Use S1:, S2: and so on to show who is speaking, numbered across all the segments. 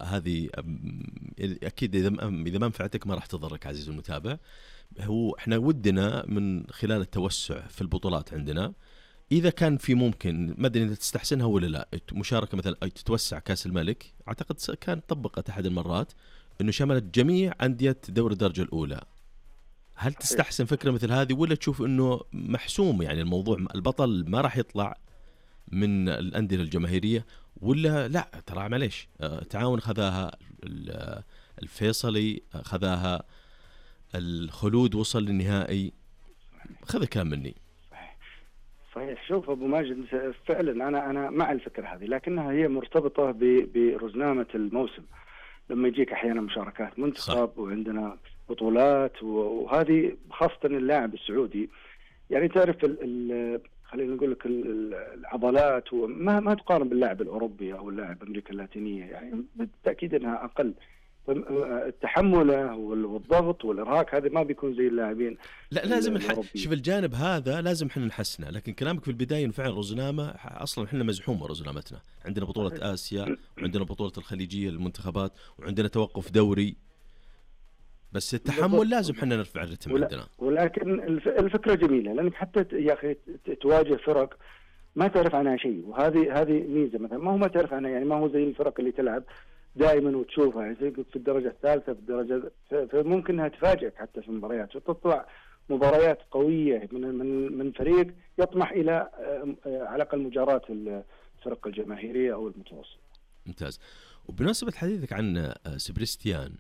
S1: هذه أكيد إذا ما نفعتك ما راح تضرك عزيزي المتابع. هو إحنا ودنا من خلال التوسع في البطولات عندنا، إذا كان في ممكن ما أدري إذا تستحسنها ولا لا، مشاركة مثلا أي تتوسع كأس الملك، أعتقد كان طبقت أحد المرات إنه شملت جميع أندية دوري الدرجة الأولى. هل تستحسن فكرة مثل هذه ولا تشوف إنه محسوم يعني الموضوع البطل ما راح يطلع من الأندية الجماهيرية، ولا لا ترى معليش تعاون خذاها الفيصلي، خذاها الخلود وصل للنهائي، خذ الكلام مني.
S2: صحيح. شوف أبو ماجد، فعلا أنا مع الفكرة هذه، لكنها هي مرتبطة برزنامة الموسم. لما يجيك أحيانا مشاركات منتخب صح. وعندنا بطولات، وهذه خاصة اللاعب السعودي يعني تعرف خلينا نقول لك العضلات ما تقارن باللاعب الأوروبي أو اللاعب أمريكا اللاتينية، يعني بالتأكيد أنها أقل. التحمله والضغط والإرهاق هذا ما بيكون زي اللاعبين.
S1: لا لازم شوف الجانب هذا لازم احنا نحسنه، لكن كلامك في البداية فعلا رزنامة أصلا احنا مزحومة رزنامتنا، عندنا بطولة آسيا وعندنا بطولة الخليجية للمنتخبات وعندنا توقف دوري، بس التحمل لازم احنا نرفع الرتم عندنا.
S2: ولكن الفكرة جميلة، لأنك حتى يا أخي تواجه فرق ما تعرف عنها شيء، وهذه ميزة. مثلا ما تعرف عنها، يعني ما هو زي الفرق اللي تلعب دائما وتشوفها يعني في الدرجة الثالثة في الدرجة، فممكن انها تفاجئك حتى في المباريات، وتطلع مباريات قوية من فريق يطمح إلى على الأقل مجاراة الفرق الجماهيرية أو المتوسط.
S1: ممتاز. وبمناسبة حديثك عن سبريستيان،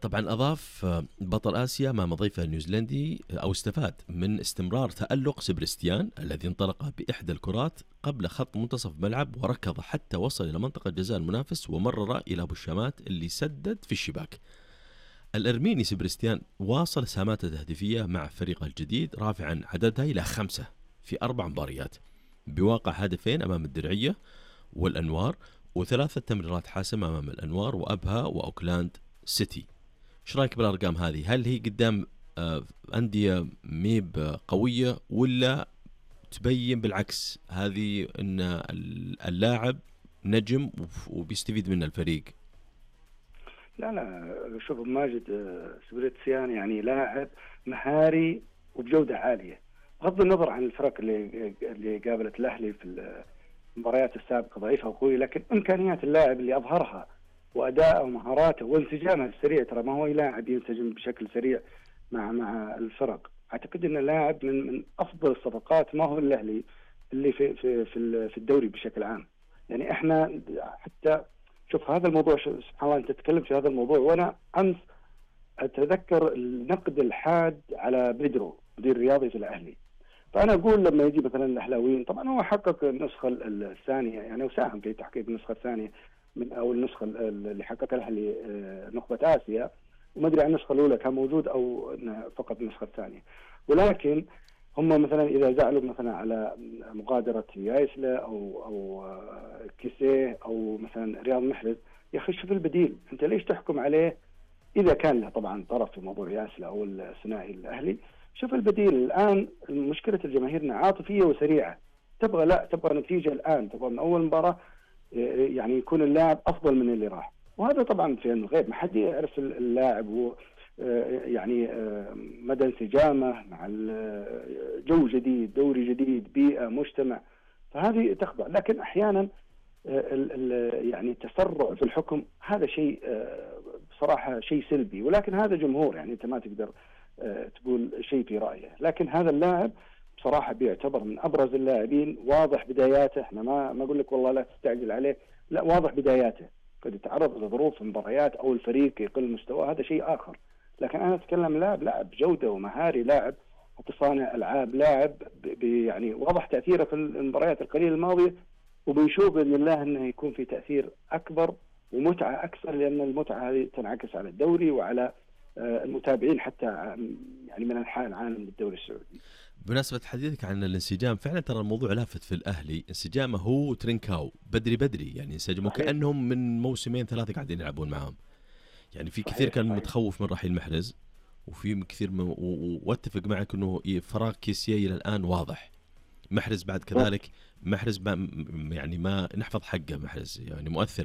S1: طبعا أضاف بطل آسيا مع مضيفه النيوزيلندي أو استفاد من استمرار تألق سبريستيان الذي انطلق بإحدى الكرات قبل خط منتصف ملعب وركض حتى وصل إلى منطقة جزاء المنافس ومرر إلى أبو الشامات اللي سدد في الشباك. الأرميني سبريستيان واصل سهاماته التهديفية مع فريقه الجديد رافعا عددها إلى 5 في 4 مباريات بواقع هدفين أمام الدرعية والأنوار و3 تمريرات حاسمة أمام الأنوار وأبها وأوكلاند سيتي. ايش رايك بالارقام هذه؟ هل هي قدام انديه ميب قويه ولا تبين بالعكس هذه ان اللاعب نجم وبيستفيد منه الفريق؟
S2: لا شوف ماجد، سبريتسيان يعني لاعب مهاري وبجوده عاليه، بغض النظر عن الفرق اللي قابلت الاهلي في المباريات السابقه ضعيفه وقويه، لكن امكانيات اللاعب اللي اظهرها وأداءه ومهاراته وانسجامه السريع، ترى ما هو لاعب ينسجم بشكل سريع مع الفرق. أعتقد أن اللاعب من أفضل الصفقات، ما هو الأهلي اللي في الدوري بشكل عام. يعني إحنا حتى شوف هذا الموضوع، سبحان الله أنت تتكلم في هذا الموضوع، وأنا أمس أتذكر النقد الحاد على بيدرو مدير رياضي في الأهلي. فأنا أقول لما يجي مثلا الأهلاويين، طبعا هو حقق النسخة الثانية يعني وساهم في تحقيق النسخة الثانية من أو النسخة اللي حققها الأهلي نخبة آسيا، وما أدري عن النسخة الأولى كان موجود أو فقط النسخة الثانية. ولكن هم مثلا إذا زعلوا مثلا على مغادرة يايسلا أو كيسيه أو مثلا رياض محرز، يا أخي شوف البديل، أنت ليش تحكم عليه إذا كان له طبعا طرف في موضوع يايسلا أو الثنائي الأهلي؟ شوف البديل. الآن مشكلة الجماهيرنا عاطفية وسريعة، تبغى نتيجة الآن، تبغى من أول مباراة يعني يكون اللاعب أفضل من اللي راح، وهذا طبعا في الغيب، ما حد يعرف اللاعب هو يعني مدى انسجامه مع جو جديد، دوري جديد، بيئة، مجتمع، فهذه تخضع. لكن أحيانا يعني التسرع في الحكم هذا شيء بصراحة شيء سلبي، ولكن هذا جمهور، يعني أنت ما تقدر تقول شيء في رأيه. لكن هذا اللاعب بصراحة بيعتبر من أبرز اللاعبين، واضح بداياته، احنا ما أقول لك والله لا تستعجل عليه، لا واضح بداياته، قد يتعرض لظروف مباريات أو الفريق يقل مستواه، هذا شيء آخر. لكن أنا أتكلم لاعب جودة ومهاري، لاعب صانع ألعاب، لاعب يعني واضح تأثيره في المباريات القليلة الماضية، وبنشوف بإذن الله أنه يكون في تأثير أكبر ومتعة أكثر، لأن المتعة هذه تنعكس على الدوري وعلى المتابعين حتى يعني من أنحاء العالم للدوري السعودي.
S1: بمناسبة حديثك عن الانسجام، فعلا ترى الموضوع لافت في الأهلي، انسجامه هو ترينكاو بدري يعني انسجموا كأنهم من موسمين 3 قاعدين يلعبون معهم. يعني في كثير كان متخوف من رحيل محرز، وفي كثير واتفق معك انه فراغ كيسيه الى الان واضح. محرز بعد كذلك، محرز يعني ما نحفظ حقه، محرز يعني مؤثر